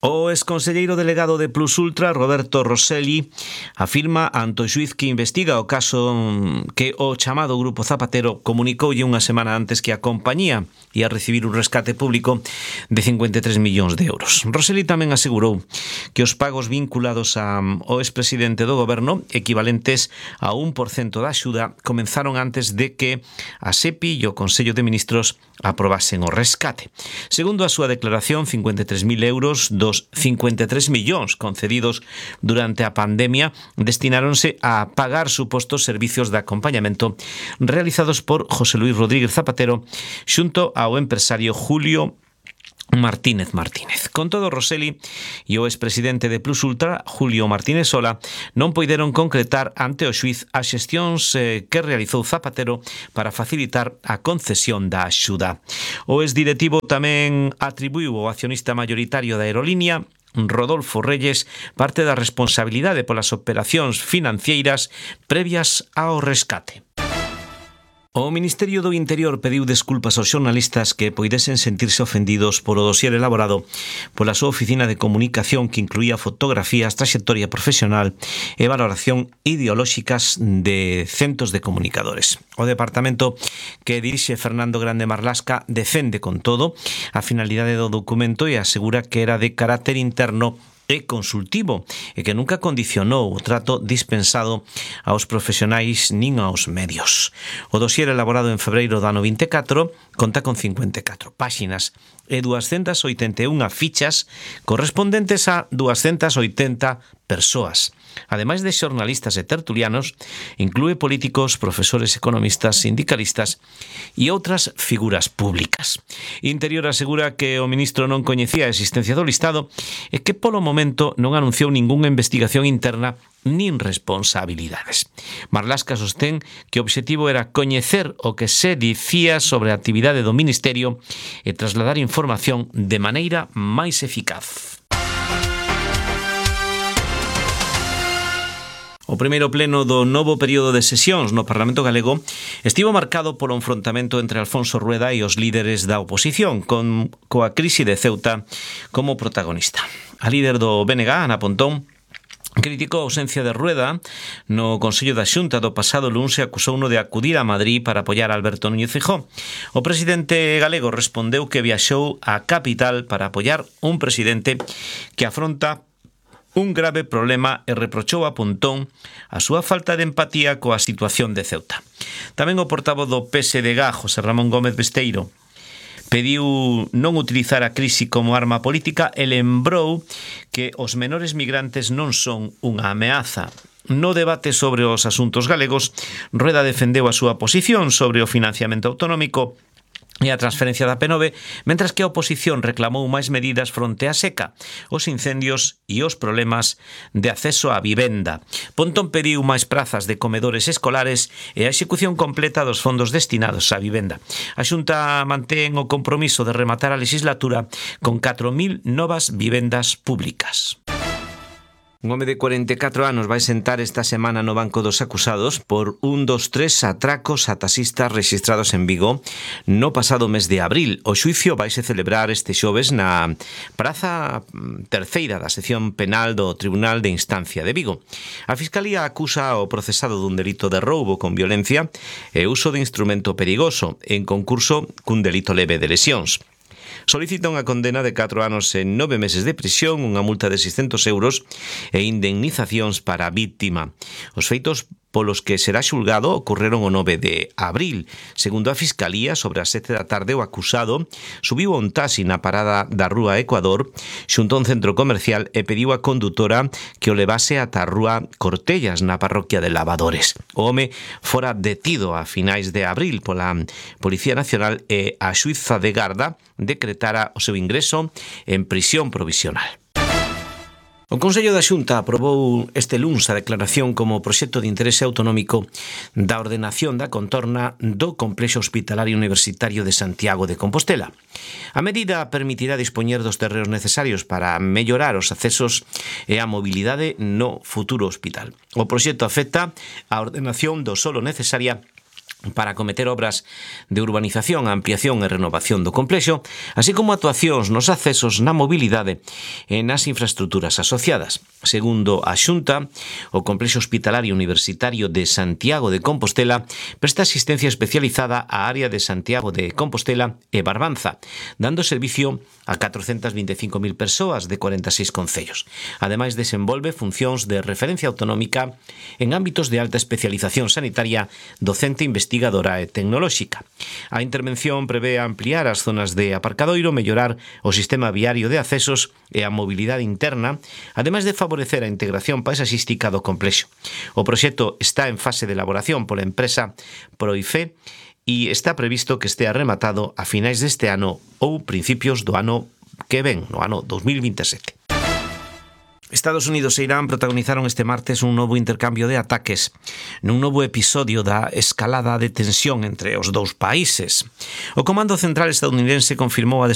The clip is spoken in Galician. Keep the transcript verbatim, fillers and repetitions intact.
O exconselleiro delegado de Plus Ultra, Roberto Rosselli, afirma ante o xuíz que investiga o caso que o chamado Grupo Zapatero comunicoulle unha semana antes que a compañía ia recibir un rescate público de cincuenta e tres millóns de euros. Rosselli tamén asegurou que os pagos vinculados ao expresidente do goberno, equivalentes a un por cento da axuda, comenzaron antes de que a SEPI e o Consello de Ministros aprobasen o rescate. Segundo a súa declaración, cincuenta e tres mil euros dos cincuenta e tres millóns concedidos durante a pandemia destináronse a pagar supostos servicios de acompañamento realizados por José Luis Rodríguez Zapatero xunto ao empresario Julio Martínez Martínez. Con todo, Rosselli e o expresidente de Plus Ultra, Julio Martínez Sola, non poideron concretar ante o xuíz as xestións eh, que realizou Zapatero para facilitar a concesión da axuda. O exdirectivo tamén atribuiu ao accionista mayoritario da aerolínea, Rodolfo Reyes, parte da responsabilidade polas operacións financeiras previas ao rescate. O Ministerio do Interior pediu desculpas aos xornalistas que poidesen sentirse ofendidos polo dosier elaborado pola súa oficina de comunicación que incluía fotografías, traxectoria profesional e valoración ideolóxicas de centos de comunicadores. O departamento que dirixe Fernando Grande Marlasca defende con todo a finalidade do documento e asegura que era de carácter interno e consultivo e que nunca condicionou o trato dispensado aos profesionais nin aos medios. O dosier elaborado en febreiro do ano vinte e catro conta con cincuenta e catro páxinas e duascentas oitenta e unha fichas correspondentes a duascentas oitenta persoas. Ademais de xornalistas e tertulianos, inclúe políticos, profesores, economistas, sindicalistas e outras figuras públicas. Interior asegura que o ministro non coñecía a existencia do listado e que polo momento non anunciou ningunha investigación interna nin responsabilidades. Marlasca sostén que o obxectivo era coñecer o que se dicía sobre a actividade do Ministerio e trasladar información de maneira máis eficaz. O primeiro pleno do novo período de sesións no Parlamento Galego estivo marcado polo enfrontamento entre Alfonso Rueda e os líderes da oposición, con coa crise de Ceuta como protagonista. A líder do B N G, Ana Pontón, criticou a ausencia de Rueda no Consello da Xunta do pasado luns e acusouno de acudir a Madrid para apoiar a Alberto Núñez Feijóo. O presidente galego respondeu que viaxou á capital para apoiar un presidente que afronta un grave problema e reprochou a Pontón a súa falta de empatía coa situación de Ceuta. Tamén o portavoz do P S D G, José Ramón Gómez Besteiro, pediu non utilizar a crise como arma política e lembrou que os menores migrantes non son unha ameaza. No debate sobre os asuntos galegos, Rueda defendeu a súa posición sobre o financiamento autonómico e a transferencia da P nove, mentras que a oposición reclamou máis medidas fronte á seca, os incendios e os problemas de acceso á vivenda. Pontón pediu máis prazas de comedores escolares e a execución completa dos fondos destinados á vivenda. A Xunta mantén o compromiso de rematar a legislatura con catro mil novas vivendas públicas. Un home de cuarenta e catro anos vai sentar esta semana no banco dos acusados por un dos tres atracos a taxistas rexistrados en Vigo no pasado mes de abril. O xuicio vaise celebrar este xoves na Praza Terceira da sección penal do Tribunal de Instancia de Vigo. A Fiscalía acusa ao procesado dun delito de roubo con violencia e uso de instrumento perigoso en concurso cun delito leve de lesións. Solicita unha condena de catro anos e nove meses de prisión, unha multa de seiscentos euros e indemnizacións para a víctima. Os feitos polos que será xulgado ocorreron o nove de abril. Segundo a Fiscalía, sobre as sete da tarde o acusado subiu a un taxi na parada da Rúa Ecuador xunto a un centro comercial e pediu á condutora que o levase ata a Rúa Cortellas na parroquia de Lavadores. O home fora detido a finais de abril pola Policía Nacional e a xuíza de garda decretara o seu ingreso en prisión provisional. O Consello da Xunta aprobou este luns a declaración como proxecto de interese autonómico da ordenación da contorna do Complexo Hospitalario Universitario de Santiago de Compostela. A medida permitirá dispoñer dos terreos necesarios para mellorar os accesos e a mobilidade no futuro hospital. O proxecto afecta a ordenación do solo necesaria para acometer obras de urbanización, ampliación e renovación do complexo, así como actuacións nos accesos na mobilidade e nas infraestructuras asociadas. Segundo a Xunta, o complexo hospitalario universitario de Santiago de Compostela presta asistencia especializada á área de Santiago de Compostela e Barbanza, dando servicio a catrocentas vinte e cinco mil persoas de cuarenta e seis concellos. Ademais, desenvolve funcións de referencia autonómica en ámbitos de alta especialización sanitaria, docente, investigadora e tecnolóxica. A intervención prevé ampliar as zonas de aparcadoiro, mellorar o sistema viario de accesos e a mobilidade interna, ademais de favorecer a integración paisaxística do complexo. O proxecto está en fase de elaboración pola empresa Proife e está previsto que estea rematado a finais deste ano ou principios do ano que ven, no ano dos mil vinte e sete. Estados Unidos e Irán protagonizaron este martes un novo intercambio de ataques nun novo episodio da escalada de tensión entre os dous países. O Comando Central estadounidense confirmou a